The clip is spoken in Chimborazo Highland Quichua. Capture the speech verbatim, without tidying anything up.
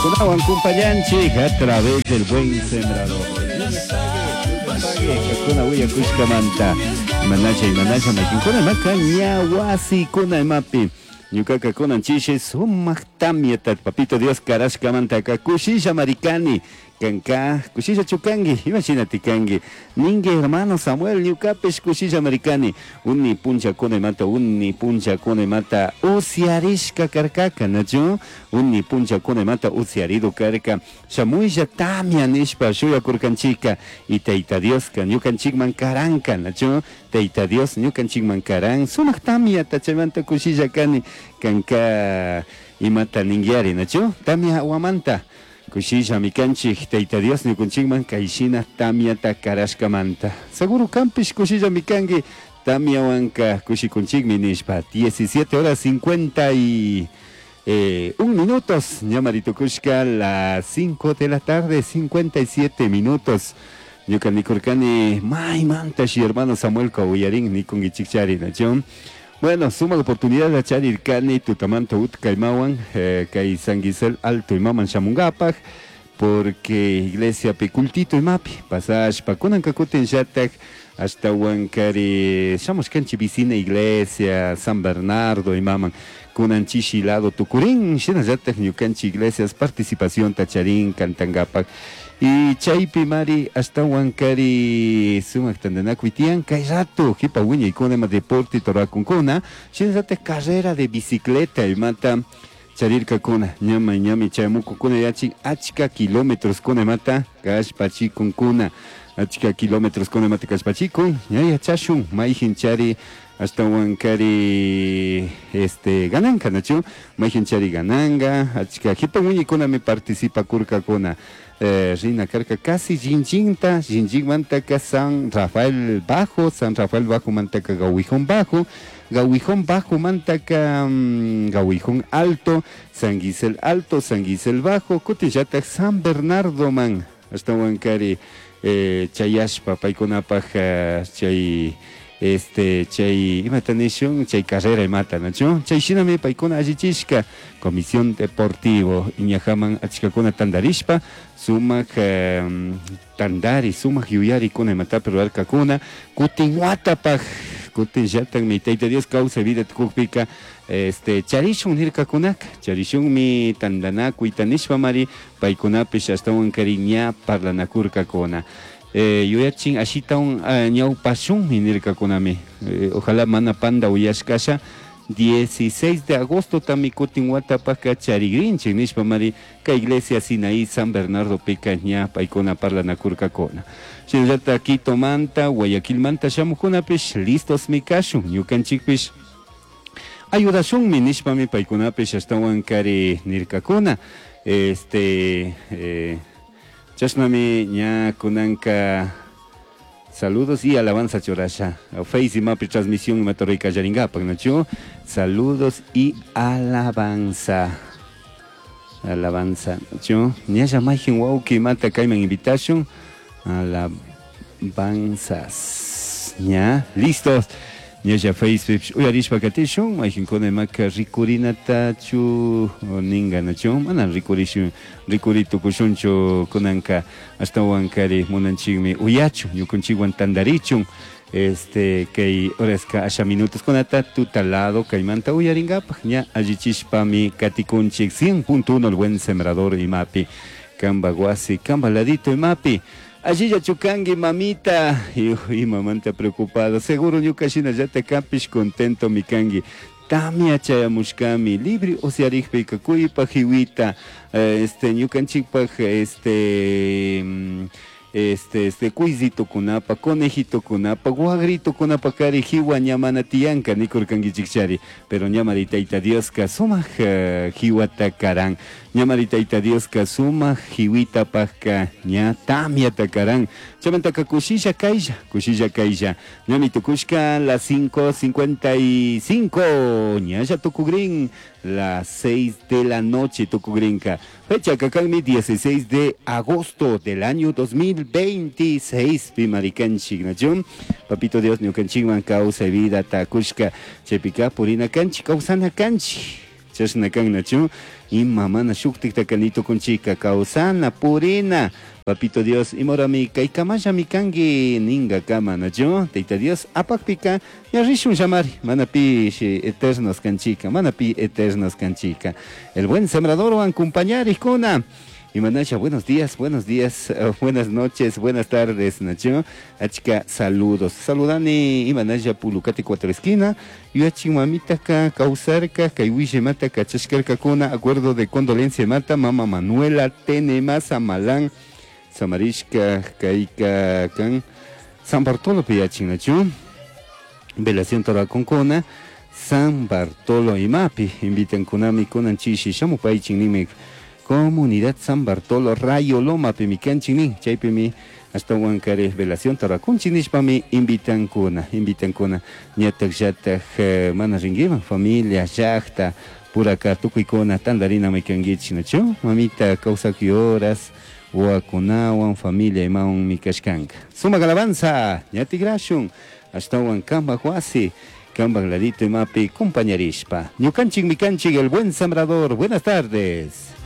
Kunawan kumpallanchik a través del Buen Sembrador. Kuna willakushkamanta imanacha imanacha maykinkuna imaka ña wasikuna imapi ñukaka kunan chishi sumak tamyata Papito Dios karashkamantaka kushilla marikani kanka kushilla chukangi imashina tikangi ningi hermano Samuel ñukapish kushilla marikani uni punchakuna imata uni punchakuna imata usyarishka karkaka, nachu? Uni punchakuna imata usyarido karka shamuylla tamia nishpa shuyakurkanchika y Tayta Dioska ñukanchikman karanka, nachu? Tayta Dios ñukanchikman karan sumak tamyata, chaymanta kushilla kani. Kanka imata ninguiari, nachu? Tamia wamanta kushillami kanchik Tayta Dios ñukunchikman kayshina tamyata karashkamanta. Seguro kampish kushillami kanki tamyawanka kushikunchikmi nishpa. diecisiete horas cincuenta y eh, un minutos, ñamari tukushka las cinco de la tarde, cincuenta y siete minutos. Ñuka nikurkani maymanta shi hermano Samuel uyarin nikunkichikchari, nachu? Bueno, suma oportunidad de charirkani tutamanta utkaymawan eh, kay San Gisel Alto imaman shamungapak porque iglesia pi cultito imapi pasashpa kunanka kutin llatak ashtawankari shamushkanchik vicina iglesia San Bernardo imaman kunan chishi lado tukurin shinallatak ñukanchik iglesias participación charin kantangapak y chaypi mari ashtawankari sumak tantanakuy tiyan kay rato jipa wiñaykuna ima deporte turakunkuna shinallatak carrera de bicicleta imata charirkakuna ñama ñami chayamukukuna yachin achka kilómetros kuna imata kallpachikunkuna achka kilómetros kuna imata kallpachikun ña yachashun mayjin chari ashtawankari este gananka, nachu? Mayjin chari gananga achka jipa wiñaykunami participakurkakuna eh, rina karka casi Jinjinta, Jinjinmantaka San Rafael Bajo, San Rafael Bajo mantaka Gawijón Bajo, Gawijón Bajo mantaka um, Gawijón Alto, San Gisel Alto, San Gisel Bajo, kutinllatak San Bernardo man, ashtawankari eh, chayashpa paykunapaj uh, chay este chay imata nishun chay carrera imata, nachu? Chay shinami paykuna allichishka comisión deportivo iñajaman achkakuna tandarishpa sumak um, tandari sumak yuyarikuna imatapi rurarkakuna kutin watapaj kutin llatakmi Tayta Dios kawsay vida tukukpika este charishun nirkakunaka charishunmi tandanakuyta nishpamari paykunapish ashtawankari ña parlanakurkakuna eh, yuyachin ashitawan uh, ñawpashunmi nirkakunami eh, ojalá mana panda uyashkasha dieciséis de agosto tami kutin watapaka charigrinchik nishpa mari kay iglesia Sinaí San Bernardo pika ña paykuna parlanakurkakuna shinallata Quitomanta Guayaquilmanta shamukunapish listos mi kashun ñukanchikpish ayudashunmi nishpami paykunapish ashtawankari nirkakuna este eh, chashnami ña kunanka saludos y alabanza churasha Face imapi transmisión imata ruray nachu? Saludos y alabanza, alabanza, nachu? Ñalla mayjin wawki imata kayman invitación alabanzas ña listos ñalla Facebook uyarishpa katishun mayjinkuna imaka rikurinatachu ninga, nachu? Mana rikurishun rikuri tukushunchu kunanka ashtawankari munanchikmi uyachun ñukunchikwan tandarichun este kay horaska asha minutos kunata tutalado kaymanta uyarinkapak ña allichishpami katikunchik cien punto uno El Buen Sembrador imapi kamba wasi kamba ladito imapi allilla chukangi mamita y mamanta preocupado seguro ñuka shinallata kapish contento mi kangi tamia chayamushkami libre usyarikpika kuypaj hiwita este ñukanchikpaj este este este cuisitokunapa conejitokunapa guagritokunapa kari hiwa ña mana tiyanka nikurkankichikchari pero ñamari Tayta Dioska sumak uh, hiwata karan ñamari Tayta Dioska sumak hiwitapajka ña tamiata karan chaymantaka kushilla kaylla kushilla kaylla ñami tukushka las cinco cincuenta y cinco ñalla tukugrin las seis de la noche tukugrinka fecha kakanmi dieciséis de agosto del año dos mil veintiséis pimarikanchik, nachu? Papito Dios ñukanchikman kawsay vida takushka chaypika purina kanchik kawsana kanchik. Chashna kannachu ima mana shuktiktaka nitukunchika kawsana purina Papito Dios imorami kaykamallami kanki ninkakama nachu Tayta Dios apakpika ña rishun llamari mana pishi eternos kanchika mana pi eternos kanchika. El buen sembradorwan compañarikuna Imanasha, buenos días, buenos días, uh, buenas noches, buenas tardes, Nacho. Achka, saludos. Saludani, Imanasha, Pulucate cuatro esquina. Yuachin mamita ka, kawsarka, kay mata, kachashkarkakuna, acuerdo de condolencia mata, mama Manuela, Tenema, Samalán, Samarishka, Kaika, kan, San Bartolo piyachin, Nacho. Velación Toraconcona, San Bartolo imapi, invitan kunami kunan chishi, shamupaychin nimi, Comunidad San Bartolo Rayo Loma pimikanchik chaypimi ashtawan kari velación tarakunchik nishpami invitankuna invitankuna ñatak llatak eh, mana rinkiman familia llakta puraka tukuykuna tantarinami kankichik nachu mamita kawsakuy horas wawakunawan familia imawanmi kashkanka sumak alabanza ña tikrashun ashtawan kampak wasi kampak ladito imapi compañarishpa ñukanchikmi kanchik el buen sembrador. Buenas tardes.